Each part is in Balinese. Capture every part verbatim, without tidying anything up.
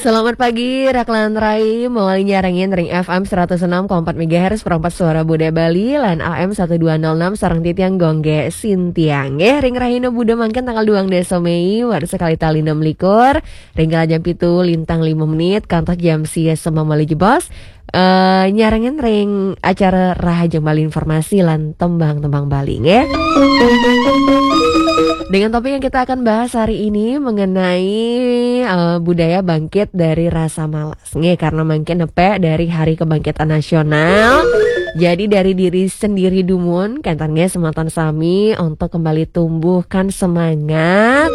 Selamat pagi, Raklan Rai, mawali nyarengin ring F M seratus enam koma empat megahertz, perempat suara Budaya Bali, lan A M satu dua nol enam sareng titiang Gongge Sintiang. Eh, ring rahina Buda mangkin tanggal dua belas Mei, warsa kalih tali enam likur, ring kala jam pitu lintang lima menit, kantos jam sia semeng malih jebos. Eh, nyarengin ring acara Rahajeng Bali Informasi lan Tembang-tembang Bali, nggih. Dengan topik yang kita akan bahas hari ini mengenai, eh, budaya bangkit dari rasa malas. Nggih, karena mangkin nepek dari Hari Kebangkitan Nasional. Jadi dari diri sendiri dumun, kenten nggih semeton sami untuk kembali tumbuhkan semangat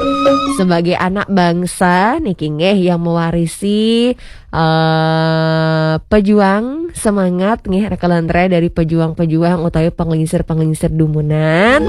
sebagai anak bangsa niki nggih yang mewarisi eh, pejuang semangat nggih, Raklan Rai, dari pejuang-pejuang utawi panglingsir-panglingsir dumunan.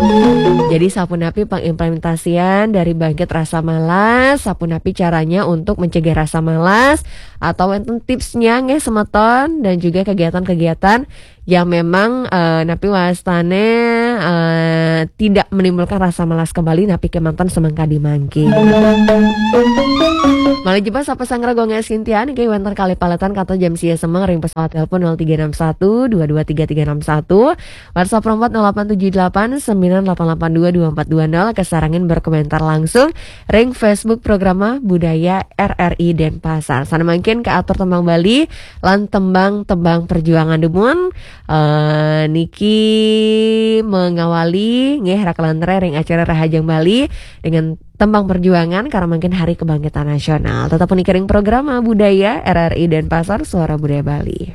Jadi sapunapi pangimplementasian dari bangkit rasa malas, sapunapi caranya untuk mencegah rasa malas, atau wonten tipsnya nggih semeton, dan juga kegiatan-kegiatan yang memang, eh, napi wastane, eh, tidak menimbulkan rasa malas kembali napi kemanten semeng kadi mangkin. Malih jebos sapa sang Gongge Sintiang niki wonten kalih paletan kantos jam sia semeng ring pesawat telepon nol tiga enam satu dua dua tiga tiga enam satu, WhatsApp perempat nol delapan tujuh delapan sembilan delapan delapan dua dua empat dua nol, kasarengin berkomentar langsung ring Facebook Programa Budaya R R I Denpasar. Sane mangkin kaatur tembang Bali lan tembang-tembang perjuangan dumun, eh, niki mengawali nggih Raklan Rai ring acara Rahajeng Bali dengan tembang perjuangan karena mangkin Hari Kebangkitan Nasional. Tetap niki ring Programa Budaya R R I Denpasar, Suara Budaya Bali.